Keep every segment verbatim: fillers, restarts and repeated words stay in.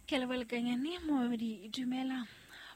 Ke leboha momamedi, dumela.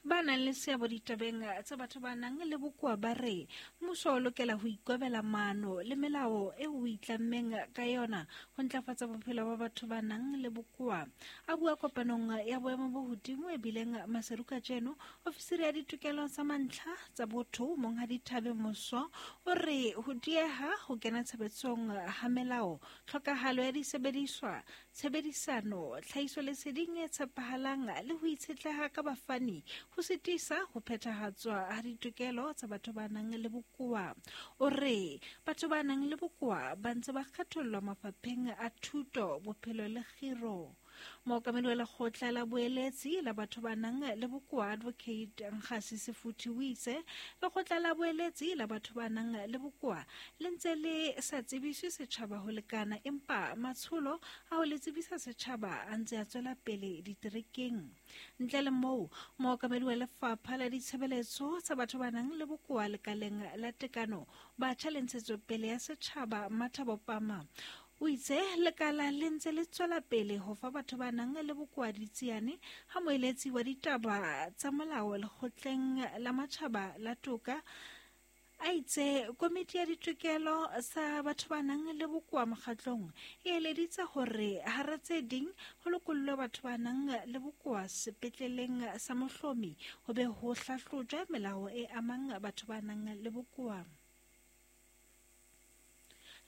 Ba nang le seabo ditabeng tsa batho ba nang le bokoa ba re mmuso o lokela ho ikobela maano le melao eo o itlammeng ka yona ho ntlafatsa bophelo ba batho ba nang le bokoa. A bua kopanong ya boemo bo hodimo e bileng Maseru kajeno, ofisiri ya ditokelo tsa mantlha tsa botho Monghadi Thabe Moso o re ho dieha ho kena tshebetsong ha melao, tlhokahalo ya disebediswa, tshebedisano, tlhahisoleseding e tshepahalang le ho itshetleha ka bafani ho sitisa ho phethahatswa ha ditokelo tsa batho ba nang le bokoa. O re batho ba nang le bokoa ba ntse ba kgethollwa mafapheng a thuto, bophelo le kgiro. Mookamedi wa lekgotla la boeletsi la batho ba nang le bokoa Advocate Nkgasi Sefuthi o itse lekgotla la boeletsi la batho ba nang le bokoa le ntse le sa tsebiswe setjhaba ho lekana, empa matsholo a ho le tsebisa setjhaba a ntse a tswela pele diterekeng. Ntle le moo, mookamedi wa lefapha la ditshebeletso tsa batho ba nang le bokoa lekaleng la tekano, batjha le ntshetsopele ya setjhaba Mathabo Pama o itse lekala le ntse le tswela pele ho fa batho ba nang le bokoa ditsiane ha moeletsi wa ditaba tsa molao lekgotleng la matjhaba la toka a itse komiti ya ditokelo sa batho ba nang le bokoa mokgatlong e eleditse hore hara tse ding ho lokollwe batho ba nang le bokoa sepetleleng sa Mohlomi ho be ho hlahlojwa melao e amang batho ba nang le bokoa.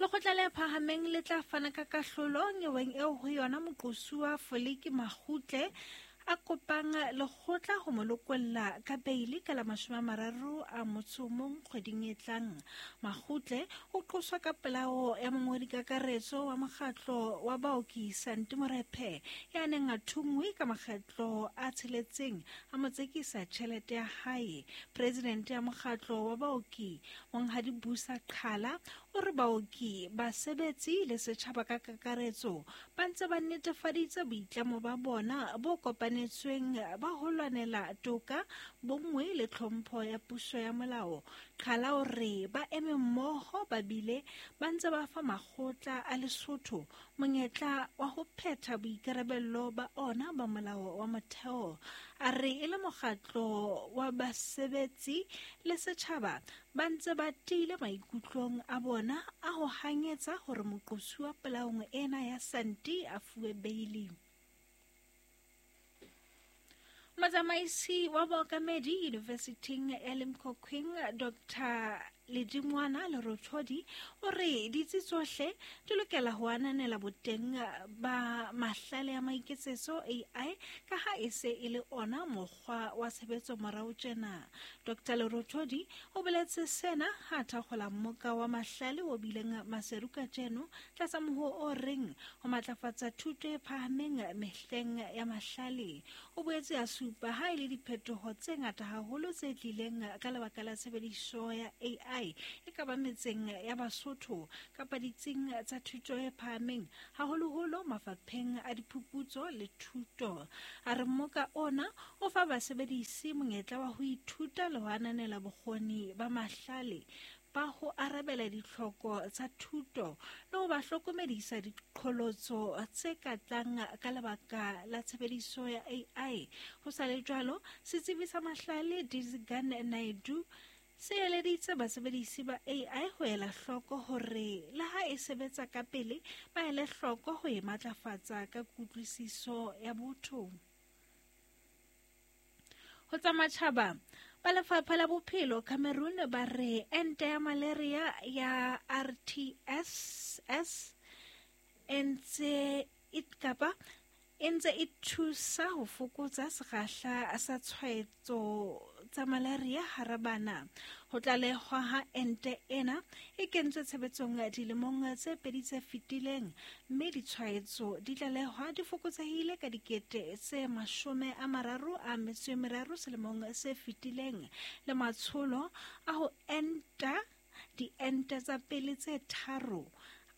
Lekgotla le phahameng le tla fana ka kahlolo nyeweng eo ho yona moqosuwa Foliki Makgutle a kopang lekgotla ho mo lokolla ka beili ka la mashome a mararo a motso o mong kgweding e tlang. Makgutle o qoswa ka polao ya mongodi kakaretso wa mokgatlo wa baoki Santi Morephe ya neng a thunngwe ka makgetlo a tsheletseng a mo tsekisa tjhelete ya hae. Presidente ya mokgatlo wa baoki Monghadi Busa Qhala o re baoki, basebetsi le setjhaba ka kakaretso ba ntse ba netefaditse boitlamo ba bona bo kopanetsweng ba ho lwanela toka, bonngwe le tlhompho ya puso ya molao. Qhala o re ba eme mmoho ba bile ba ntse ba fa makgotla a Lesotho monyetla wa ho phetha boikarabello ba ona ba molao wa motheo. A re e le mokgatlo wa basebetsi le setjhaba ba ntse ba tiile maikutlong a bona a ho hanyetsa hore moqosuwa polaong ena ya Santi a fuwe beili. Motsamaisi wa baokamedi University ya Limkokwing Doctor Ledingwana Lerothodi o re ditsi tsohle di lokela ho ananela boteng ba mahlale a maiketsetso A I ka ha e se e le ona mokgwa wa tshebetso morao tjena. Doctor Lerothodi o boletse sena ha thakgola mmoka wa mahlale o bileng Maseru kajeno tlasa mohoo o reng ho matlafatsa thuto e phahameng mehleng ya mahlale. O boetse a supa ha e le diphetoho tse ngata haholo tse tlileng ka lebaka la tshebediso ya A I e ka ba metseng ya Basotho kapa ditsing tsa thuto e phahameng, haholoholo mafapheng a diphuputso le thuto. A re mmoka ona o fa basebedisi monyetla wa ho ithuta le ho ananela bokgoni ba mahlale ba ho arabela ditlhoko tsa thuto le ho ba hlokomedisa diqholotso tse ka tlang ka lebaka la tshebediso ya A I. Ho sa le jwalo, setsebi sa mahlale Dizgan Naidu se eleditse basebedisi ba A I ho ela hloko hore le ha e sebetsa ka pele, ba ele hloko ho e matlafatsa ka kutlwisiso ya botho. Ho tsa matjhaba, ba lefapha la bophelo Cameroon ba re ente ya malaria ya R T S S e ntse e kapa e ntse e thusa ho fokotsa sekgahla sa tshwaetso tsa malaria hara bana. Ho tlalehwa ha ente ena e kentswe tshebetsong dilemong tse pedi tse fetileng, mme ditshwaetso di tlalehwa di fokotsehile ka dikete tse mashome a mararo a metso e meraro selemong se fetileng. Le matsholo a ho enta diente tsa pele tse tharo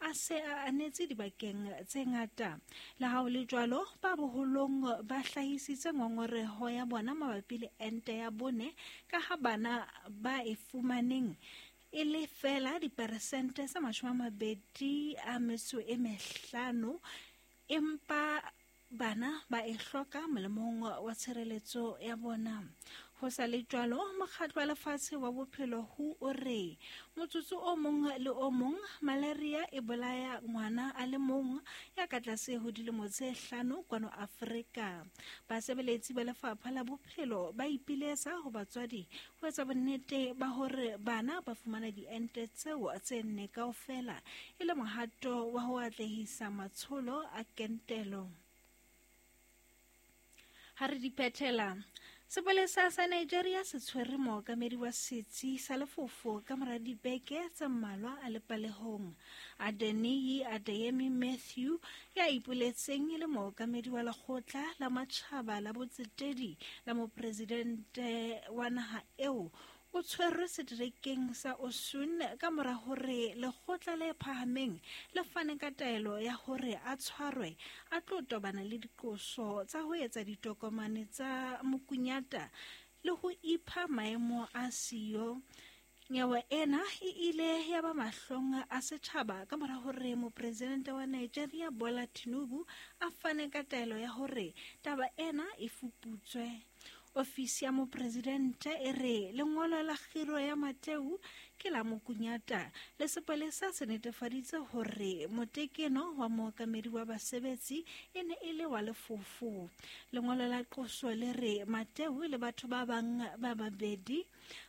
a se a anetse dibakeng tse ngata. Le ha ho le jwalo, ba boholong ba hlahisitse ngongoreho ya bona mabapi le ente ya bone ka ha bana ba e fumaneng e le feela diperesente tse mashome a mabedi a metso e mehlano, empa bana ba e hloka molemong wa tshireletso ya bona. Ho sa le jwalo, mokgatlo wa lefatshe wa bophelo W H O o re motsotso o mong le o mong malaria e bolaya ngwana a le mong ya ka tlase ho dilemo tse hlano kwano Afrika. Basebeletsi ba lefapha la bophelo ba ipiletsa ho batswadi ho etsa bonnete ba hore bana ba fumana diente tseo tse nne kaofela e le mohato wa ho atlehisa matsholo a kentelo. Ha re di phethela, sepolesa sa Nigeria se tshwere mookamedi wa setsi sa lefofo ka mora dibeke tse mmalwa a le palehong. Adeniyi Adeyemi Matthew ya ipoletseng e le mookamedi wa lekgotla la matjhaba la botsetedi la mopresidente wa naha eo o tshwerwe seterekeng sa Osun ka mora hore lekgotla le phahameng le fane ka taelo ya hore a tshwarwe a tlo tobana le diqoso tsa ho etsa ditokomane tsa mokunyata le ho ipha maemo a siyo. Nyewe ena e ile ya ba mahlong a setjhaba ka mora hore mopresidente wa Nigeria Bola Tinubu a fane ka taelo ya hore taba ena e fuputswe. Ofisi ya mopresidente e re lengolo la kgiro ya Mateu ke la mokunyata le sepolesa se netefaditse hore motekeno wa mookamedi wa basebetsi e ne e le wa lefofo. Lengolo la qoso le re Mateu le batho ba bang ba babedi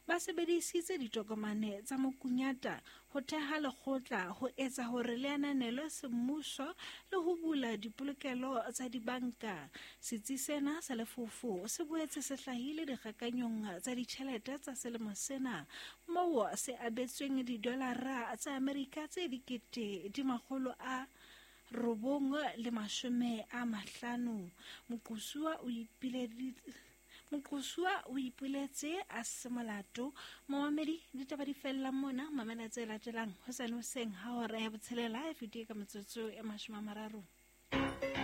ba sebedisitse ditokomane tsa mokunyata ho theha lekgotla ho etsa hore le ananelwe semmuso le ho bula dipolokelo tsa dibanka. Setsi sena sa lefofo se boetse se hlahile dikgakanyong tsa ditjhelete tsa selemo sena moo se abetsweng didolara tsa Amerika tse dikete di makgolo a robong le mashome a mahlano. Moqosuwa o ipileditse Moqosuwa o ipoletse a se molato. Momamedi, ditaba di fella mona, mamela tse latelang hosane hoseng ha hora ya botshelela e fetile ka metsotso e mashome a mararo.